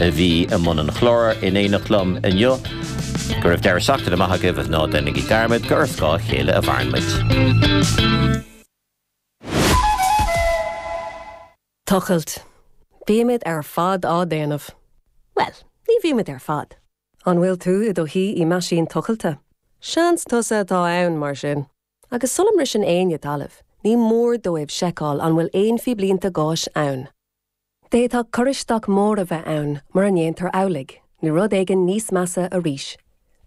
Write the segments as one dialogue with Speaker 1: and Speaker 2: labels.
Speaker 1: a bhí i mbun an chláir in éineacht liom inniu. Go raibh deireadh seachtaine maith agaibh agus ná déanaigí dearmad gur ar scáth a chéile a mhaireann muid.
Speaker 2: Tochailt. Bímid ar fad á déanamh. Bhuel, ní bhímid ar fad. An bhfuil tú i do shuí i meaisín tochailte? Seans tusa atá ann, mar sin. Agus sula mbriseann éinne talamh, ní mór dóibh seiceáil an bhfuil aon phíblínte gáis ann. D'fhéadfadh cur isteach mór a bheith ann mura ndéantar amhlaidh, nó rud éigin níos measa arís.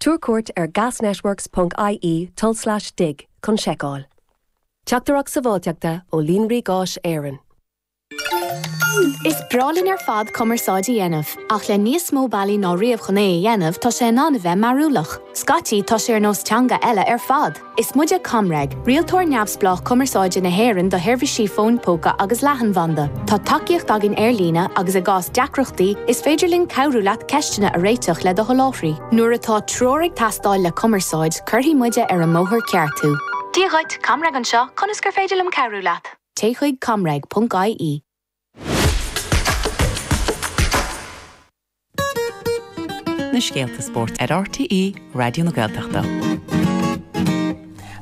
Speaker 2: Tabhair cuairt ar gasnetworks ponc ie tulslais dig chun seiceáil. Teachtaireacht Sábháilteachta ó Líonraí Gáis Éireann.
Speaker 3: Is breá linn ar fad cumarsáid a dhéanamh, ach le níos mó bealaí ná riamh chun é a dhéanamh, tá sé in ann a bheith mearúlach. Scaití, tá sé ar nós teanga eile ar fad! Is muide ComReg, rialtóir neamhspleách cumarsáide na hÉireann do sheirbhísí fóin póca agus leathanbhanda. Tá tacaíocht againn ar líne agus i gcás deacrachtaí, is féidir linn cabhrú leat ceisteanna a réiteach le do sholáthraí. Nuair atá treoir ag teastáil le cumarsáid, cuirfidh muide ar an mbóthar ceart thú. Dia dhuit, ComReg anseo, conas gur féidir liom cabhrú leat? Téigh chuig comreg.ie.
Speaker 4: Na scéalta spóirt ar RTÉ Raidió na Gaeltachta.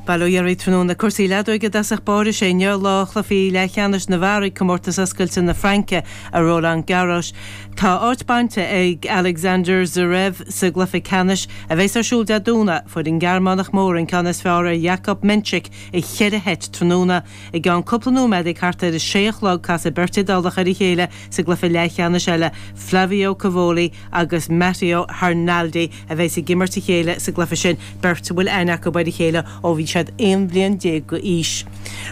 Speaker 5: Bail ó Dhia oraibh tráthnóna. Cúrsaí leadóige i dtosach báire. Sé inniu lá chluichí leathcheannais na bhfear ag Comórtas Oscailte na Fraince i Roland Garros. Tá áit bainte ag Alexander Zverev sa gcluiche ceannais a bheas ar siúl Dé Domhnaigh. Fuair an Gearmánach mór an ceann is fearr ar Jakub Mensik i cheithre sheit tráthnóna. I gceann cúpla nóiméad ag thart ar a sé a chlog casfaidh beirt Iodálach ar a chéile sa gcluiche leathcheannais eile, Flavio Cobolli agus Matteo Arnaldi a bheas ag imirt a chéile sa gcluiche sin, beirt a bhfuil aithne acu ar a chéile ó bhí siad 11 bhliain d'aois.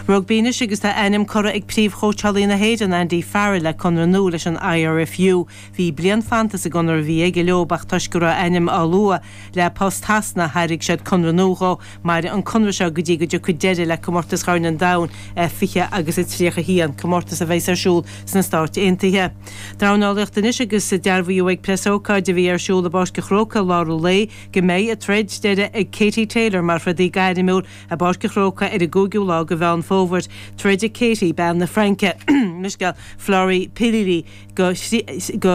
Speaker 5: Rugbaí anois agus tá a ainm curtha ag príomhchóitseálaí na hÉireann, Andy Farrell, le conradh nua leis an IRFU. Bhí bliain fanta sa gconradh a bhí aige leo ach toisc go raibh a ainm á lua le post Shasana thairg siad conradh nua dhó. Mairfidh an conradh seo go dtí go dtiocfaidh deireadh le Comórtas Chorn an Domhain 20 agus a 31, comórtas a bheas ar siúl sna Stáit Aontaithe. Dornálaíocht anois agus dearbhaíodh ag preasócáid a bhí ar siúl i bPáirc an Chrócaigh i lár an lae go mbeidh a troid deiridh ag Katie Taylor mar throdaí gairmiúil i bPáirc an Chrócaigh ar an gcúigiú lá de Mheán Fómhair. Troidfidh Katie, bean na Fraince, mo leithscéal, Florie Pilili do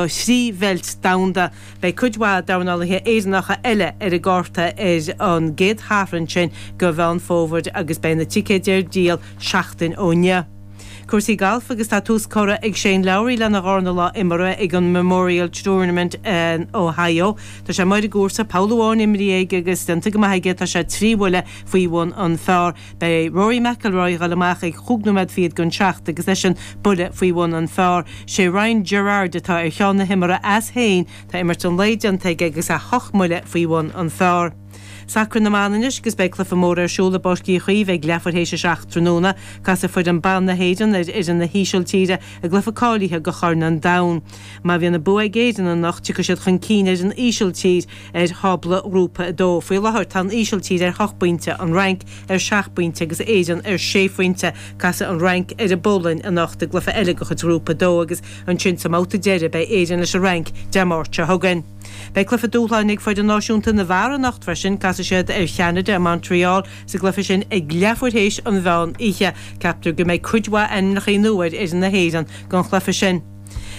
Speaker 5: thrí bheilt domhanda. Beidh cuid mhaith dornálaithe Éireannacha eile ar an gcárta ar an gcéad Shatharn sin de Mheán Fómhair agus beidh na ticéid ar díol seachtain ó inniu. Cúrsaí gailf agus tá tús curtha ag Shane Lowry lena dharna lá imeartha ag an Memorial Tournament in Ohio. Tá sé amuigh ar an gcúrsa, poll amháin imrithe aige agus déanta go maith aige, tá sé 3 bhuille faoi bhun an phar. Beidh Rory McIlroy ag dul amach ag chúig nóiméad fichead don seacht agus eisean buille faoi bhun an phar. Sé Ryan Gerard atá ar cheann na himeartha as féin, tá imirt an lae déanta aige agus é hocht mbuille faoi bhun an phar. Sacar na mban anois agus beidh cluiche mór ar siúl i bPáirc Uí Chaoimh ag leathuair théis a 7 tráthnóna. Casfaidh foireann ban na hÉireann ar fhoireann na hÍsiltíre i gcluiche cáilithe do Chorn an Domhain. Má bhíonn an bua ag Éirinn anocht tiocfaidh siad chun cinn ar an Ísiltír ar thábla Ghrúpa 2. Faoi láthair tá an Ísiltír ar hocht bpointe, an Fhrainc ar sheacht bpointe agus Éirinn ar sé phointe. Casfaidh an Fhrainc ar an bPolainn anocht i gcluiche eile de chuid Ghrúpa 2 agus ansin sa mbabhta deiridh beidh Éirinn leis an Fhrainc Dé Máirt seo chugainn. Beidh cluiche dúshláin ag foireann náisiúnta na bhfear anocht freisin. Casfaidh siad ar Cheanada i Montreal sa gcluiche sin ag leathuair théis an mheán oíche. Ceaptar go mbeidh cuid mhaith ainmneacha nua ar fhoireann na hÉireann don chluiche sin.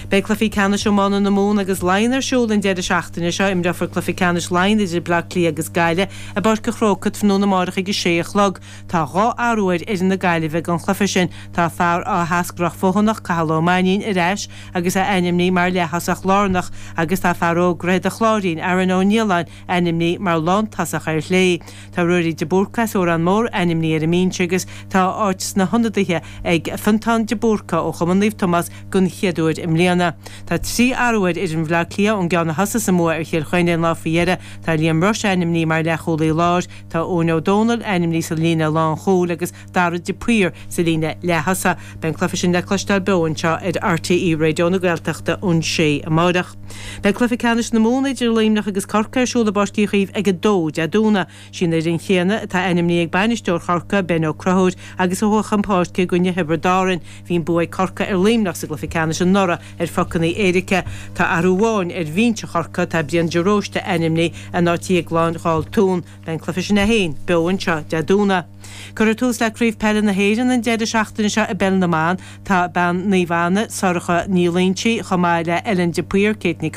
Speaker 5: Beidh cluichí ceannais iomána na Mumhan agus Laighean ar siúl an deireadh seachtaine seo. Imreofar cluiche ceannais Laighean idir Bleá Cliath agus Gaillimh i bPáirc an Chrócaigh tráthnóna amárach ag a sé a chlog. Tá 2 athrú ar fhoireann na Gaillimhe don chluiche sin. Tá fear Áth hEascarrach Feothanach, Cathal Ó Mainnín, ar ais agus é ainmnithe mar leath-thosach lárnach agus tá fear óg Dhroichead an Chláirín, Aaron Ó Nialláin, ainmnithe mar lántosach ar chlé. Tá Ruairí de Búrca as Órán Mór ainmnithe ar an mbinse agus tá áit sna hionadaithe ag Fiontán de Búrca ó Chumann Naomh Tomás den chéad uair i mbliana. Tá 3 athrú ar fhoireann Bhaile Átha Cliath ón gceann a thosaigh sa mbua ar Chill Chainnigh an lá faoi dheireadh. Tá Liam Rushe ainmnithe mar leathchúlaí láir, tá Eoin Ó Dónaill ainmnithe sa líne lánchúil agus Darragh de Paor sa líne leath-thosaigh. Beidh an cluiche sin le cloisteáil beo anseo ar RTÉ Raidió na Gaeltachta ón 6 amárach. Beidh cluiche ceannais na Mumhan idir Luimneach agus Corcaigh ar siúl i bPáirc Uí Chaoimh ag 2 Dé Domhnaigh. Sí an fhoireann chéanna atá ainmnithe ag bainisteoir Chorcaí, Ben Ó Conchúir, agus a chuaigh chun páirce i gcoinne Thiobraid Árann. Bhí an bua ag Corcaigh ar Luimneach sa gcluiche ceannais anuraidh ar phocanna éirice. Tá athrú amháin ar bhinse Chorcaí, tá Brian de Róiste ainmnithe in áit Dhéagláin Dháltún. Beidh an cluiche sin é féin beo anseo Dé Domhnaigh. Cuirfear tús le Craobh Peile na hÉireann an deireadh seachtaine seo i bPeil na mBan. Tá bean Naomh Anna, Sorcha Ní Loingsigh, chomh maith le Ellen de Paor, Kate Ní.